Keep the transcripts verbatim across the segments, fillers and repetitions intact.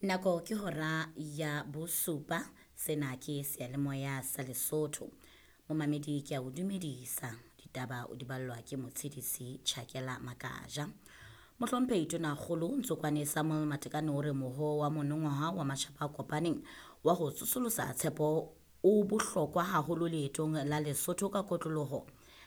Nako ke hora ya bosupa, sena ke seyalemoya sa Lesotho. Momamedi ke a o dumedisa, ditaba o di ballwa ke motshedisi Tjhakela Makaja. Mohlomphehi Tonakgolo Ntsokwane Samuel Matekane o re moho wa monongwaha wa matjhaba a kopaneng wa ho tsosolosa tshepo o bohlokwa haholo leetong la Lesotho ka kotloloho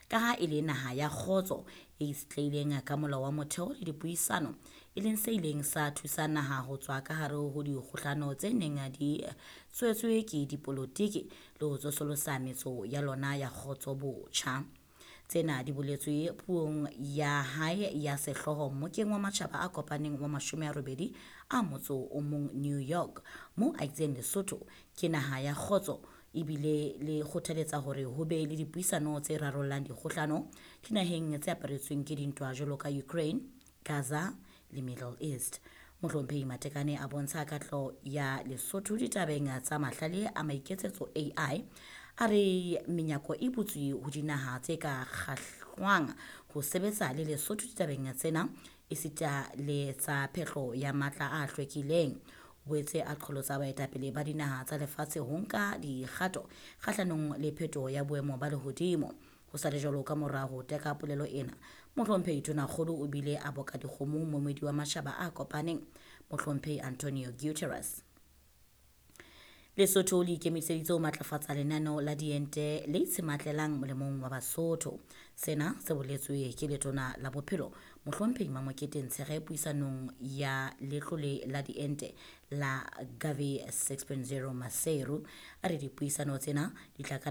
ka ha e le naha ya kgotso e itshetlehileng ka molao wa motheo le dipuisano, e leng se ileng sa thusa naha ho tswa ka hare ho dikgohlano tse neng di tswetswe ke dipolotiki le ho tsosolosa metso ya lona ya kgotso botjha. Tsena di boletswe puong ya hae ya sehlooho mmokeng wa matjhaba a kopaneng wa mashome a robedi a motso o mong New York, moo a itseng Lesotho ke naha ya kgotso ebile le kgothaletsa hore ho be le dipuisano tse rarollang dikgohlano dinaheng tse aparetsweng ke dintwa jwalo ka Ukraine, Gaza le Middle East. Mohlomphehi Matekane a bontsha katleho ya Lesotho ditabeng tsa mahlale a maiketsetso A I, a re menyako e butswe ho dinaha tse ka kgahlwang ho sebetsa le Lesotho ditabeng tsena esita le tsa phehlo ya matla a hlwekileng. O boetse a qholotsa baetapele ba dinaha tsa lefatshe ho nka dikgato kgahlanong le phetoho ya boemo ba lehodimo. Ho sa le jwalo, ka mora ho teka polelo ena, Mohlomphehi Tonakgolo o bile a boka dikgomo moemedi wa matjhaba a kopaneng, Mohlomphehi Antonio Guterres. Lesotho le ikemiseditse ho matlafatsa lenaneo la diente le itshematlelang molemong wa Basotho. Sena se boletswe ke letona la bophelo Mohlomphehi Mamokete Ntshege puisanong ya letlole la diente la Gavi six point zero Maseru. A re dipuisano tsena di tla ka